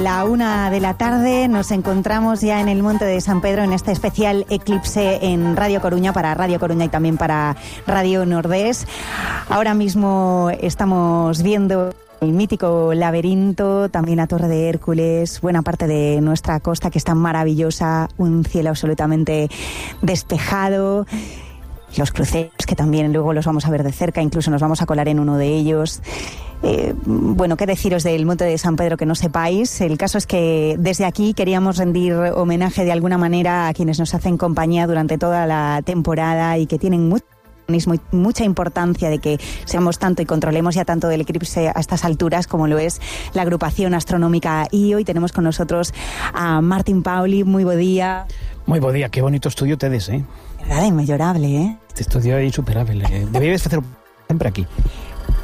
La 1 de la tarde nos encontramos ya en el Monte de San Pedro en este especial eclipse en Radio Coruña, para Radio Coruña y también para Radio Nordés. Ahora mismo estamos viendo el mítico laberinto, también la Torre de Hércules, buena parte de nuestra costa que está maravillosa, un cielo absolutamente despejado. Los cruceros, que también luego los vamos a ver de cerca, incluso nos vamos a colar en uno de ellos. Bueno, qué deciros del Monte de San Pedro que no sepáis. El caso es que desde aquí queríamos rendir homenaje de alguna manera a quienes nos hacen compañía durante toda la temporada y que tienen mucha importancia de que seamos tanto y controlemos ya tanto del eclipse a estas alturas como lo es la agrupación astronómica. Y hoy tenemos con nosotros a Martín Pauli. Muy buen día. Muy buen día, qué bonito estudio tedes, Verdad, inmejorable, Este estudio é insuperable. Debías facer sempre aquí.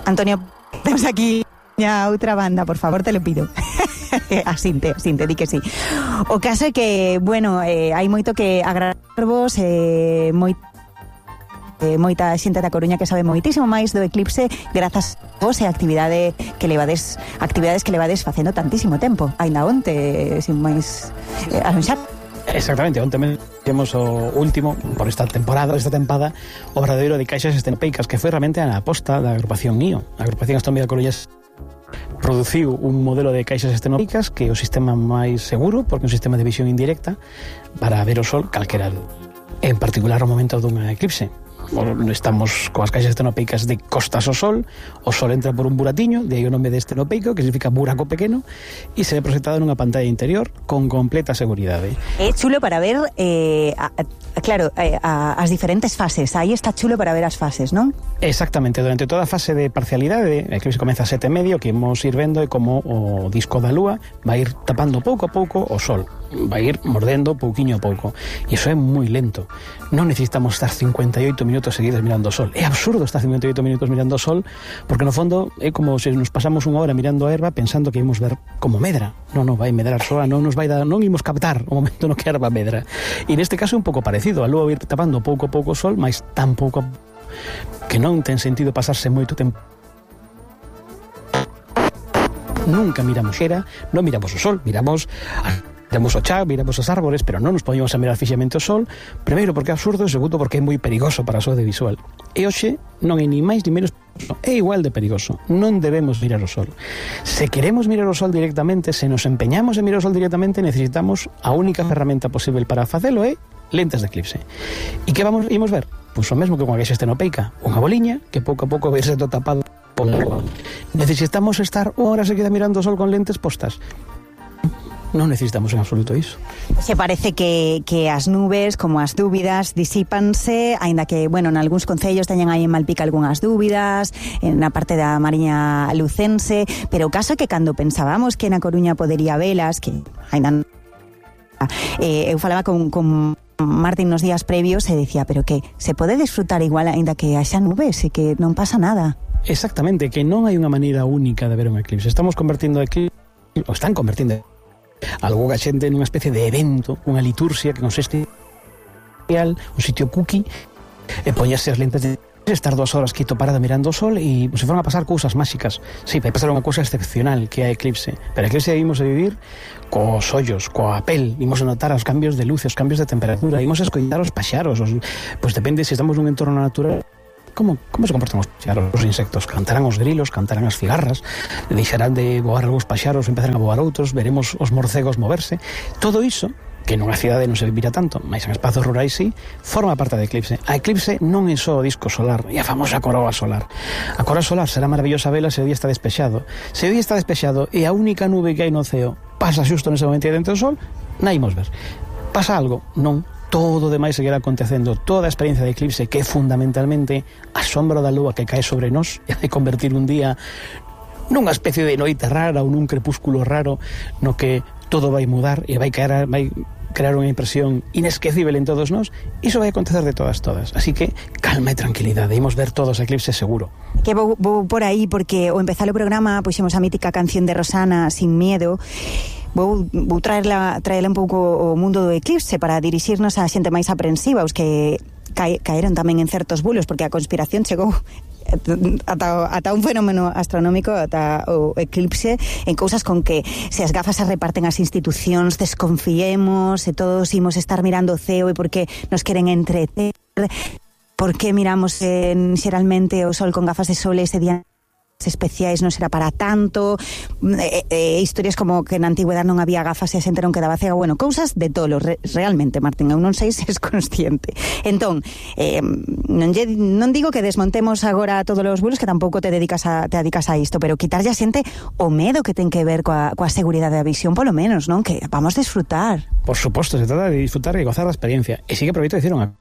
Antonio, temos aquí a outra banda, por favor, te lo pido. Asinte, di que sí. O caso é que, bueno, hai moito que agradarvos, moita xente da Coruña que sabe moitísimo máis do eclipse grazas a vos e actividades que levades facendo tantísimo tempo. Ainda onte, sin máis anunciar. Exactamente, onte temos o último por esta tempada, o verdadeiro de caixas estenopeicas, que foi realmente a aposta da agrupación IO. A agrupación astronómica coruñesa produciu un modelo de caixas estenopeicas que é o sistema máis seguro, porque é un sistema de visión indirecta para ver o sol calquera, en particular o momento dunha eclipse. Estamos coas caixas estenopeicas de costas ao sol, o sol entra por un buratiño, de aí o nome de estenopeico, que significa buraco pequeno, e se ve proxectado nunha pantalla interior con completa seguridade. É chulo para ver, as diferentes fases. Aí está chulo para ver as fases, non? Exactamente, durante toda a fase de parcialidade, a eclipse comeza a 7:30, que imos ir vendo é como o disco da lúa vai ir tapando pouco a pouco o sol, vai ir mordendo pouquiño a pouco, e iso é moi lento. Non necesitamos estar 58 minutos seguidos mirando o sol. É absurdo estar 58 minutos mirando o sol, porque no fondo é como se nos pasamos unha hora mirando a erva pensando que ímos ver como medra. Non vai medrar soa, non imos captar o momento no que a erva medra. E neste caso é un pouco parecido, a lúa vai ir tapando pouco a pouco o sol, mas tan pouco que non ten sentido pasarse moito tempo. Nunca miramos non miramos o sol, miramos o chan, miramos os árbores, pero non nos podemos a mirar fixamente o sol, primeiro porque é absurdo e segundo porque é moi perigoso para a saúde visual. E hoxe non é ni máis ni menos, é igual de perigoso. Non debemos mirar o sol. Se queremos mirar o sol directamente, se nos empeñamos en mirar o sol directamente, necesitamos a única ferramenta posible para facelo é lentes de eclipse. E que imos ver? Pois o mesmo que con a caixa estenopeica, unha boliña que pouco a pouco vai ser tapado por lúa. Necesitamos estar unha hora seguida mirando o sol con lentes postas? Non necesitamos en absoluto iso. Se parece que as nubes, como as dúbidas, disípanse, aínda que, bueno, en algúns concellos teñen aí en Malpica algunhas dúbidas, na parte da Mariña Lucense, pero o caso é que cando pensábamos que na Coruña podería velas, que aínda eu falaba con Martín nos días previos e dicía, pero que se pode disfrutar igual aínda que haxa nubes e que non pasa nada. Exactamente, que non hai unha maneira única de ver un eclipse. Están convertindo algo a xente nunha especie de evento, unha liturxia que consiste un sitio cookie, e poñerse as lentes de estar 2 horas quieto parado mirando o sol e se foron a pasar cousas máxicas. Sí, vai pasar unha cousa excepcional que é a eclipse, pero a eclipse vimos a vivir cos ollos, coa pel, vimos a notar os cambios de luz, os cambios de temperatura, vimos a escoitar os paxaros, pois depende se estamos nun entorno natural. Como se comportan os insectos? Cantarán os grilos, cantarán as cigarras, deixarán de voar algúns paxaros, empezarán a voar outros, veremos os morcegos moverse. Todo iso, que nunha cidade non se vivira tanto, mas en espazos rurais sí, forma parte da eclipse. A eclipse non é só o disco solar, é a famosa coroa solar. A coroa solar será maravillosa vela se o día está despexado. Se o día está despexado e a única nube que hai no ceo pasa xusto nese momento dentro do sol, non imos ver. Pasa algo? Non. Todo o demais seguirá acontecendo. Toda a experiencia de eclipse, que é fundamentalmente a sombra da lúa que cae sobre nós e vai convertir un día nunha especie de noite rara ou nun crepúsculo raro no que todo vai mudar e vai crear unha impresión inesquecible en todos nós. Iso vai acontecer de todas. Así que calma e tranquilidade, imos ver todos os eclipses seguro. Que vou por aí porque ao empezar o programa puxemos a mítica canción de Rosana, Sin Miedo. Vou traerla un pouco ao mundo do eclipse para dirixirnos á xente máis aprensiva, os que caeron tamén en certos bulos, porque a conspiración chegou ata un fenómeno astronómico, ata o eclipse, en cousas con que se as gafas se reparten as institucións, desconfiemos, e todos imos estar mirando o ceo, e porque nos queren entreter, porque miramos xeralmente o sol con gafas de sol ese día especiais non será para tanto, historias como que na antigüedade non había gafas e a xente non quedaba cega, bueno, cousas de tolo, realmente, Martín, eu non sei se és consciente. Entón, non digo que desmontemos agora todos os bulos, que tampouco te dedicas a isto, pero quitarlle a xente o medo que ten que ver coa seguridade da visión, polo menos, non? Que vamos disfrutar. Por suposto, se trata de disfrutar e gozar da experiencia. E sí que aproveito de decir unha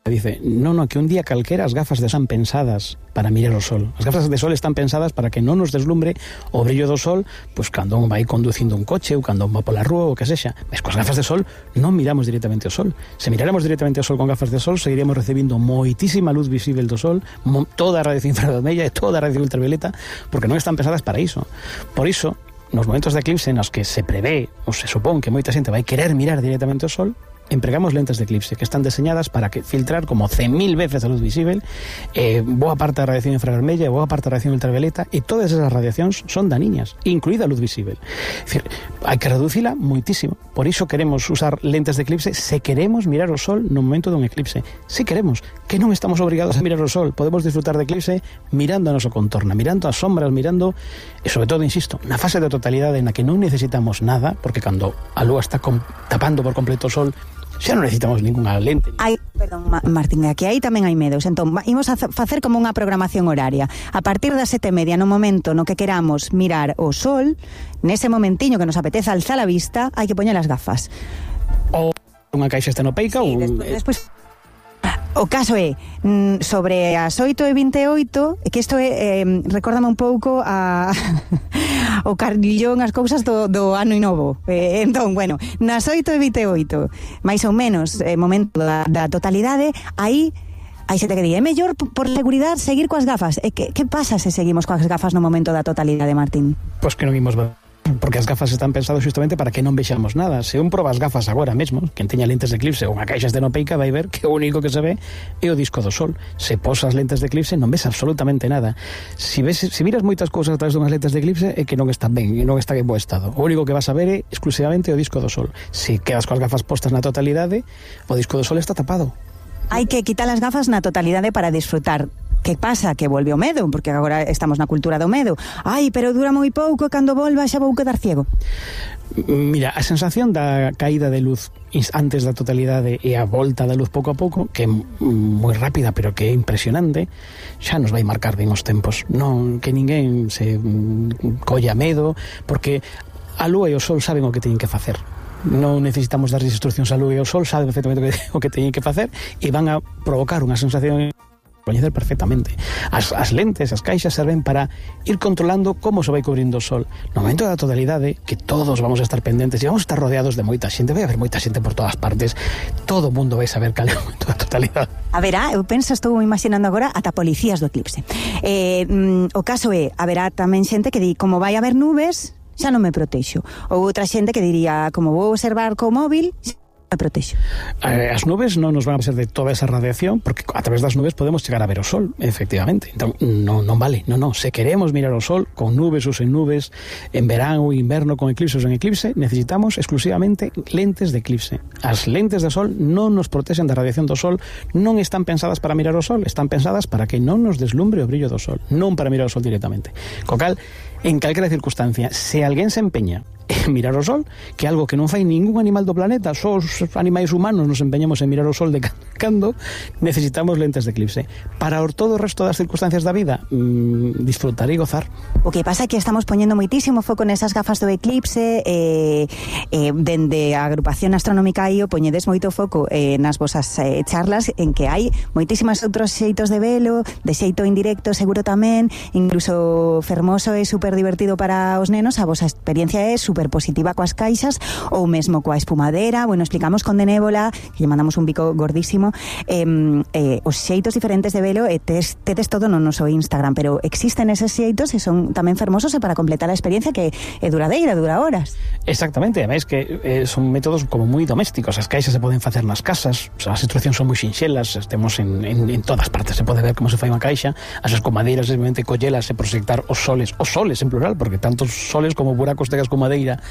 dice, no, que un día calquera as gafas de sol están pensadas para mirar o sol. As gafas de sol están pensadas para que non nos deslumbre o brillo do sol, pois cando un vai conducindo un coche ou cando un va pola rúa ou que sexa. Mas coas gafas de sol non miramos directamente o sol. Se miráramos directamente o sol con gafas de sol, seguiríamos recibindo moitísima luz visible do sol, toda a radiación infrarroja e toda a radiación ultravioleta, porque non están pensadas para iso. Por iso, nos momentos de eclipse nos que se prevé ou se supón que moita xente vai querer mirar directamente o sol, empregamos lentes de eclipse que están diseñadas para que filtrar como 100.000 veces a luz visible, boa parte da radiación infrarvermella, boa parte da radiación ultravioleta, e todas esas radiacións son daniñas, incluída a luz visible. É dicir, hai que reducila moitísimo. Por iso queremos usar lentes de eclipse se queremos mirar o sol no momento dun eclipse. Se queremos, que non estamos obrigados a mirar o sol, podemos disfrutar de eclipse mirando a noso contorno, mirando as sombras, mirando, e sobre todo, insisto, na fase de totalidade na que non necesitamos nada, porque cando a lúa está tapando por completo o sol, xa non necesitamos ninguna lente. Perdón, Martín, aquí aí tamén hai medos. Entón, imos a facer como unha programación horaria. A partir das 7:30, no momento no que queramos mirar o sol, nese momentiño que nos apeteza alzar a vista, hai que poñer as gafas. Ou unha caixa estenopeica ou... Despois... O caso é, sobre as 8:28, que isto recórdame un pouco o carrillón, as cousas do ano novo. Entón, bueno, nas 8:28, máis ou menos, momento da totalidade, aí hai xente que di, é mellor por seguridade seguir coas gafas. Que pasa se seguimos coas gafas no momento da totalidade, Martín? Pois que non imos ver, porque as gafas están pensadas justamente para que non vexamos nada. Se un proba as gafas agora mesmo, quen teña lentes de eclipse ou unha caixa estenopeica, vai ver que o único que se ve é o disco do sol. Se posas lentes de eclipse non ves absolutamente nada. Se miras moitas cousas a través dunhas lentes de eclipse é que non están ben, e non está en bo estado. O único que vas a ver é exclusivamente o disco do sol. Se quedas coas gafas postas na totalidade, o disco do sol está tapado. Hai que quitar as gafas na totalidade para disfrutar. Que pasa? Que volve o medo, porque agora estamos na cultura do medo. Ai, pero dura moi pouco, cando volva xa vou quedar ciego. Mira, a sensación da caída de luz antes da totalidade e a volta da luz pouco a pouco, que é moi rápida, pero que é impresionante, xa nos vai marcar ben os tempos. Non que ninguén se colla medo, porque a lúa e o sol saben o que teñen que facer. Non necesitamos dar instruccións a lúa e o sol, saben perfectamente o que teñen que facer, e van a provocar unha sensación coñecer perfectamente. As lentes, as caixas serven para ir controlando como se vai cubrindo o sol. No momento da totalidade, que todos vamos a estar pendentes e vamos a estar rodeados de moita xente, vai haber moita xente por todas partes, todo o mundo vai saber cal é o momento da totalidade. Haberá, eu penso, estou imaginando agora ata policías do eclipse. O caso é, haberá tamén xente que di, como vai haber nubes, xa non me protexo. Ou outra xente que diría, como vou observar co móvil, me protexo. As nubes non nos van a ser de toda esa radiación, porque a través das nubes podemos chegar a ver o sol, efectivamente. Entón, non vale, non. Se queremos mirar o sol, con nubes ou sen nubes, en verán ou inverno, con eclipse ou sen eclipse, necesitamos exclusivamente lentes de eclipse. As lentes de sol non nos protexen da radiación do sol, non están pensadas para mirar o sol, están pensadas para que non nos deslumbre o brillo do sol, non para mirar o sol directamente. Co cal, en calquera circunstancia, se alguén se empeña en mirar o sol, que é algo que non fai ningún animal do planeta, só os animais humanos nos empeñamos en mirar o sol de cando, necesitamos lentes de eclipse. Para todo o resto das circunstancias da vida, disfrutar e gozar. O que pasa é que estamos poñendo moitísimo foco nesas gafas do eclipse, dende a agrupación astronómica IO poñedes moito foco nas vosas charlas, en que hai moitísimas outros xeitos de velo, de xeito indirecto seguro tamén, incluso fermoso e super divertido para os nenos. A vosa experiencia é super super positiva coas caixas ou mesmo coa espumadera. Bueno, explicamos con Denébola, que lle mandamos un bico gordísimo, os xeitos diferentes de velo, e tedes todo no noso Instagram, pero existen eses xeitos e son tamén fermosos e para completar a experiencia que é duradeira, dura horas. Exactamente, ademais que son métodos como moi domésticos. As caixas se poden facer nas casas, as instruccións son moi sinxelas, temos en todas partes, se pode ver como se fai unha caixa. As escumadeiras, simplemente collelas e proxectar os soles en plural, porque tantos soles como buracos tegas con madeira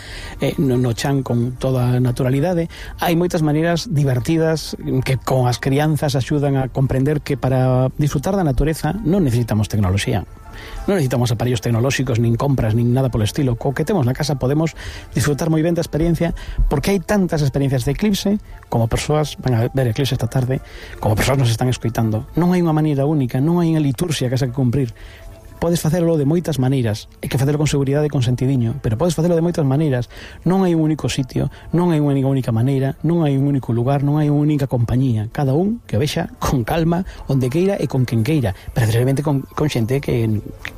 no chan con toda a naturalidade. Hai moitas maneiras divertidas que con as crianzas axudan a comprender que para disfrutar da natureza non necesitamos tecnoloxía, non necesitamos aparellos tecnolóxicos, nin compras, nin nada polo estilo. Co que temos na casa podemos disfrutar moi ben da experiencia, porque hai tantas experiencias de eclipse, como persoas van a ver eclipse esta tarde, como persoas nos están escoitando. Non hai unha maneira única, non hai unha liturxia que que cumprir. Podes facelo de moitas maneiras, hai que facelo con seguridade e con sentidiño, pero podes facelo de moitas maneiras. Non hai un único sitio, non hai unha única maneira, non hai un único lugar, non hai unha única compañía. Cada un que o vexa con calma, onde queira e con quen queira, precisamente con xente que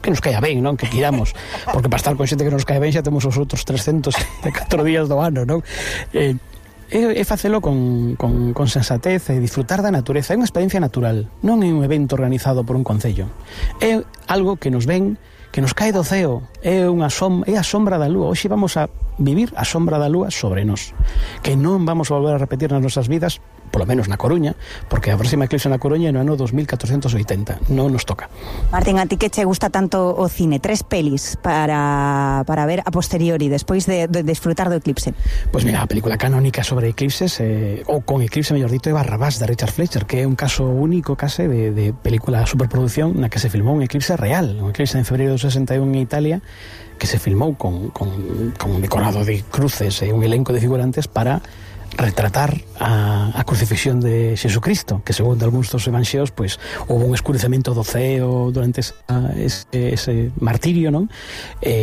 nos caia ben, non? Que quiramos, porque para estar con xente que nos caia ben xa temos os outros 304 días do ano, non? É facelo con sensatez e disfrutar da natureza. É unha experiencia natural, non é un evento organizado por un concello. É algo que nos ven, que nos cae do ceo, é a sombra da lúa. Hoxe vamos a vivir a sombra da lúa sobre nós, que non vamos a volver a repetir nas nosas vidas, polo menos na Coruña, porque a próxima eclipse na Coruña é no ano 2480, non nos toca. Martín, a ti que che gusta tanto o cine, 3 pelis para ver a posteriori, despois de disfrutar do eclipse? Pois mira, a película canónica sobre eclipses, ou con eclipse, mellor dito, é Barrabás, de Richard Fleischer, que é un caso único, case, de película superproducción na que se filmou un eclipse real, un eclipse en febreiro do 61 en Italia, que se filmou con un decorado de cruces e un elenco de figurantes para retratar a crucifixión de Xesucristo, que segundo algúns dos evanxeos, pois houve un escurecemento do ceo durante ese martirio, non?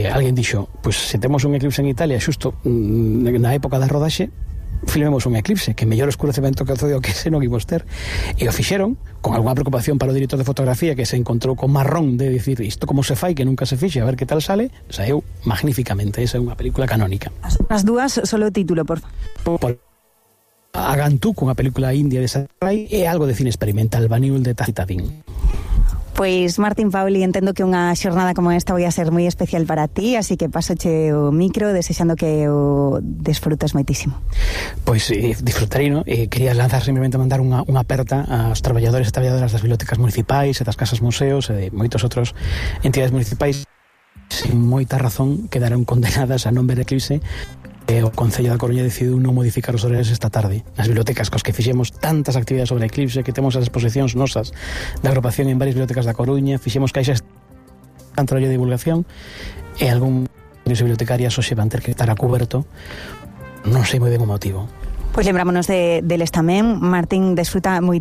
Alguén dixo, pois se temos un eclipse en Italia xusto na época da rodaxe, filmemos un eclipse, que mellor escurecemento que o ceo que ese non imos ter. E o fixeron con algunha preocupación para o director de fotografía, que se encontrou con marrón de dicir isto como se fai, que nunca se fixe, a ver que tal sale. Saeu magníficamente. Esa é unha película canónica. As dúas, solo o título, por favor. Agantú, cunha película india de Sarai, é algo de cine experimental, Baniul de Tacitadín. Pois, Martín Pauli, entendo que unha xornada como esta vai a ser moi especial para ti, así que pasoche o micro desexando que o desfrutes moitísimo. Pois disfrutarei, non? Quería lanzar simplemente mandar unha aperta aos traballadores e traballadoras das bibliotecas municipais e das casas museos e de moitos outros entidades municipais sin moita razón quedaron condenadas a non ver eclipse. O Concello da Coruña decidiu non modificar os horarios esta tarde. Nas bibliotecas cos que fixemos tantas actividades sobre eclipse, que temos as exposicións nosas da agrupación en varias bibliotecas da Coruña, fixemos caixas tan traballo de divulgación e algún bibliotecarias hoxe van ter que estar a cuberto, non sei moi ben o motivo. Pois lembrámonos deles tamén. Martín, desfruta moi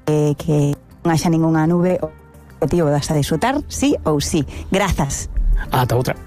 que non haxa ningunha nube. O objetivo das a disfrutar, sí ou sí. Grazas. Ata outra.